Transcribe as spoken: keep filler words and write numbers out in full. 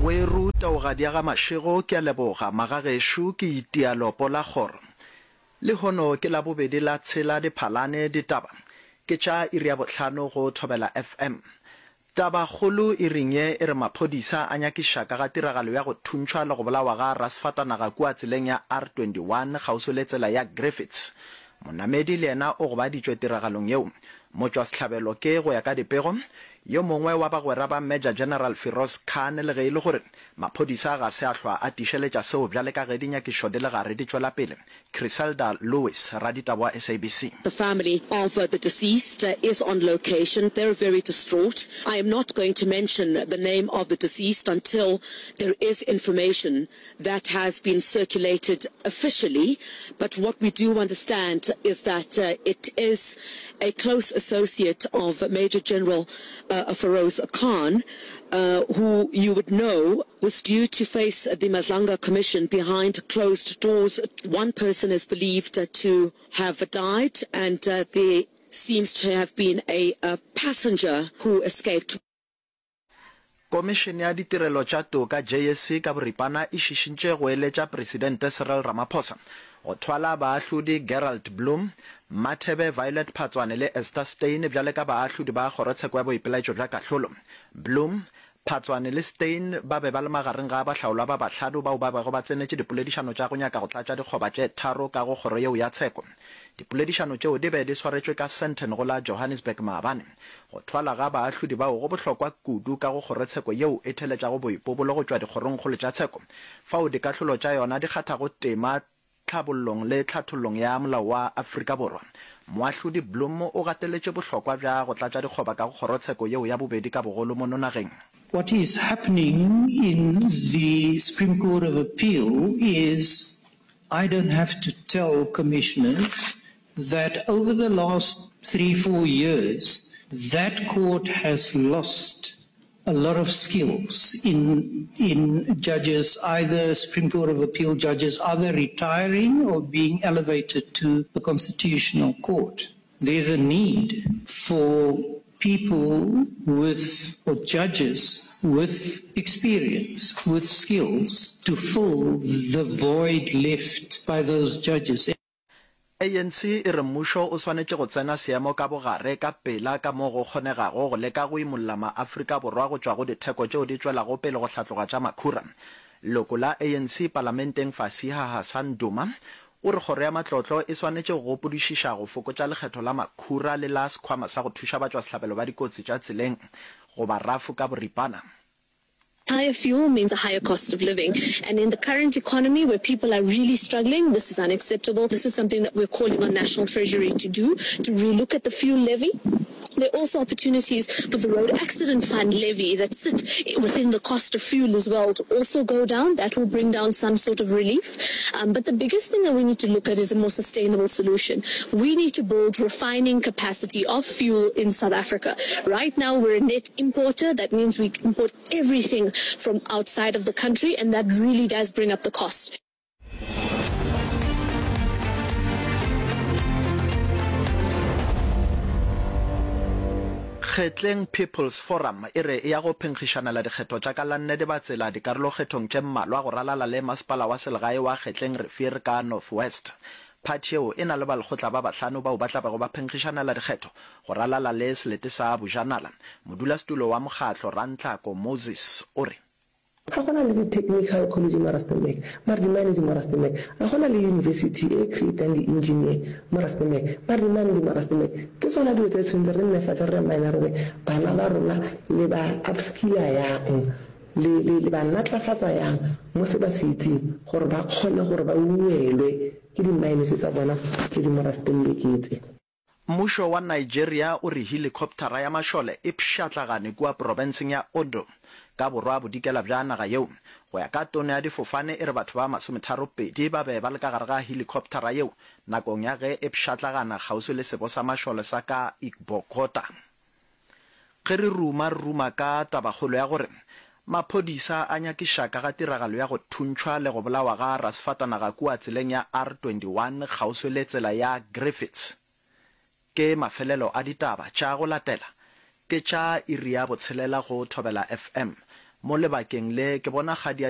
Weru taogadi ya ga Mashego ke a leboga magagešo ke itia lopo la kgoro. Lehono ke Labobedi la tshela Diphalane ditaba ke tša iri ya bohlano go Thobela FM. Tabakgolo iring ye e re maphodisa a nyakiša ka ga tiragalo ya go thuntšhwa le go bolawa ga rasefatanaga kua tseleng ya R twenty one kgauswi le tsela ya Griffiths. Monamedi le yena o gobaditšwe tiragalong yeo. Motšwasehlabelo ke, go ya ka dipego, yo mongwe wa bagwera ba Major General Firoz Khan le ge e le gore maphodisa ga se a hlwa a tiišeletša seo bjale ka ge dinyakišišo di le gare di tšwela pele. Chriselda Lewis, raditaba wa S A B C. The family of the deceased is on location. They're very distraught. I am not going to mention the name of the deceased until there is information that has been circulated officially, but what we do understand is that it is a close associate of Major General Feroz Khan, who you would know was due to face the Madlanga Commission behind closed doors. One person is believed to have died, and there seems to have been a passenger who escaped. Komišene ya Ditirelo tša Toka, J S C, ka boripana e šišintše go eletša Presidente Cyril Ramaphosa go thwala baahlodi Gerald Bloom, Mathebe Violet Phatswane le Esther Steyn bjale ka baahlodi ba Kgorotsheko ya Boipelaetšo bja Kahlolo. Bloom, Phatswane le Steyn ba be ba le magareng ga bahlaolwa ba bahlano bao ba bego ba tsenetše dipoledišano tša go nyaka go tlatša dikgoba tše tharo ka go kgoro yeo ya tsheko. Dipoledišano tšeo di be di swaretšwe ka Sandton go la Johannesburg maabane. Go thwala ga baahlodi bao go bohlokwa kudu ka go kgorotsheko yeo e theletšago boipobolo go tšwa dikgorongkgolo tša tsheko, fao dikahlolo tša yona di kgathago tema tlhabollong le tlhathollong ya molao wa Afrika Borwa. Moahlodi Blom o gateletše bohlokwa bja go tlatša dikgoba ka go kgorotsheko yeo ya bobedi ka bogolo mono nageng. What is happening in the Supreme Court of Appeal is I don't have to tell commissioners that over the last three, four years, that court has lost a lot of skills in, in judges, either Supreme Court of Appeal judges, either retiring or being elevated to the Constitutional Court. There's a need for people with, or judges with experience, with skills, to fill the void left by those judges. A N C e re mmušo o swanetše go tsena seemo ka bogare ka pela ka mo go kgonegago go leka go imolla maAfrika Borwa go tšwa go ditheko tšeo di tšwelago pele go hlatloga tša makhura. Leloko la A N C palamenteng Fasiha Hassan Duma o re kgoro ya matlotlo e swanetše go gopodišiša go fokotša lekgetho la makhura le la sekhwama sa go thuša batšwasehlabelo ba dikotsi tša tseleng goba RAF ka boripana. Higher fuel means a higher cost of living, and in the current economy where people are really struggling, this is unacceptable. This is something that we're calling on National Treasury to do, to relook at the fuel levy. There are also opportunities for the Road Accident Fund levy that sit within the cost of fuel as well to also go down. That will bring down some sort of relief. Um, but the biggest thing that we need to look at is a more sustainable solution. We need to build refining capacity of fuel in South Africa. Right now we're a net importer. That means we import everything from outside of the country, and that really does bring up the cost. Kgetleng People's Forum e re e ya go phenkgišanela dikgetho tša ka la nne Dibatsela dikarolokgethong tše mmalwa go ralala le masepala wa selegae wa Kgetleng Rivier ka North West. Phathi yeo e na le balekgotla ba bahlano bao ba tla bego ba phenkgišanela dikgetho go ralala le selete sa Bojanala. Modulasetulo wa mokgatlo Rantlako Moses o re. Ga go na le di-technical college mo Rustenburg, mara di-mine di mo Rustenburg. Ga go na le university e creatang di-engineer mo Rustenburg, mara di-mine di mo Rustenburg. Ke tsona dilo tse tshwanetse re nne fatshe re mine re re bana ba rona le ba upskilla yang, le, le, le ba natlafatsa yang mo se ba se itseng gore ba kgone gore ba ungwelwe ke di-mine tse tsa bona tse di mo Rustenburg tse. Mmušo wa Nigeria o re helikoptara ya mašole e pšhatlagane kua profenseng ya Ondo, ka borwa bodikela bja naga yeo. Go ya ka tona ya difofane e re batho ba masometharo pedi ba be ba le ka gare ga helikoptara yeo nakong ya ge e pšhatlagana kgauswi le sebo sa mašole sa ka Igbokota. Ge re ruma re ruma ka tabakgolo ya gore maphodisa a nyakiša ka ga tiragalo ya go thuntšhwa le go bolawa ga rasefatanaga kua tseleng ya R twenty one kgauswi le tsela ya Griffiths. Ke mafelelo a ditaba tša go latela ke tša iri ya botshelela go Thobela F M. Mo lebakeng le ke bona kgadi ya